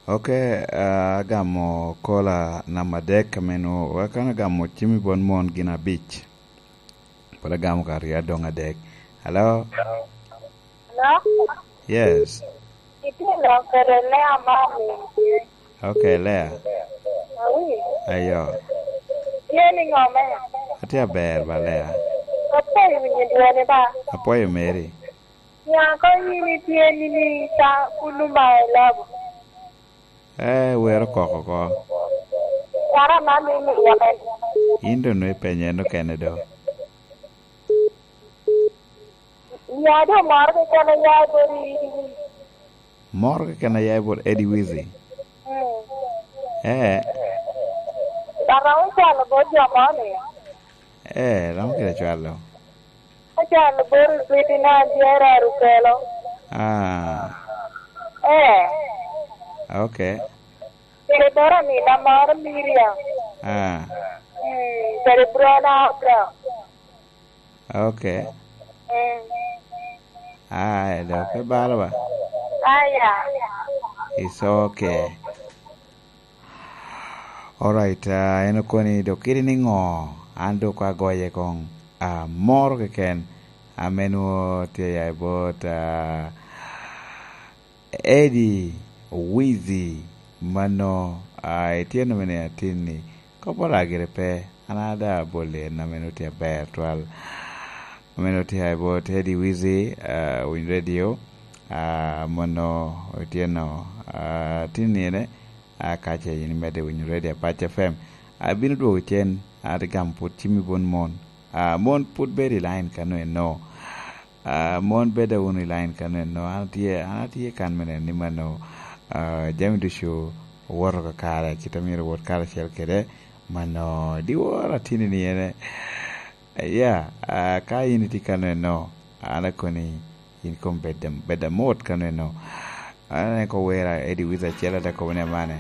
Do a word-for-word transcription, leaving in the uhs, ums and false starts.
Ok, agamo kola namba adek, ameno akana gamo cim i bot mon gin abic. Pwod agamo ka aryo adoŋ adek. Hello? Hello? Yes. Itye lok kede Lea Marlin tye. Ok, Lea. Awi. Ayo. Tye ni ŋo me? Atye aber ba, Lea. Apwoyo winyo dwoni ba. Apwoyo meri. Nya ko yin itye ni ni ta kulu ma i labo. Eh, wer okoko oko. Yara man ni ni yamen. In do nwe penye en okene do. Ya do moro keken ya do ni. Moro keken ya i bot Eddie Wizzy. Mm. Eh. Dok romo cwalo bot jo mo ni. Eh, romo kede cwalo. Acwalo bot Sweetie na dyere Arukelo. Ah. Eh. Ok. Kede bot amina moro Miriam. Ah. Mm, kede Brona Abraham. Ok. Mm. Ah, eh, dok pe balo ba? Aya. It's ok. Alright, ah, en okoni dok kidi ni ŋo? An dok agoye koŋ, ah, moro keken. Ame nwo tye ya i bot, ah, Eddie Wizzy, mano, ah, itye nome ni atin ni, kop oragire pe, an ada abol en ame nwo tye aber twal. Ame nwo tye ya i bot Eddie Wizzy, ah, Winy Radio, ah, mono itye no, ah, atin ni ene, ah, kace in imedde winyo Radio Apac F M. Abino dwogo cen, ate gamo pwod cim i bun mon. Ah, mon pwod bedo i line kano eno. Ah, mon beda wunu i line kano eno. An atye, an atye kan me neno ni mano, ah, jami ducu owoto kakare, kit a myero owot karacel kede. Mano, diwor atini ni ene. Ya, ah, ka in itye kano eno, an akoni in kom bed, bed amot kano eno. An aneko wera Eddie Wizzy acel ate kobo ni amane.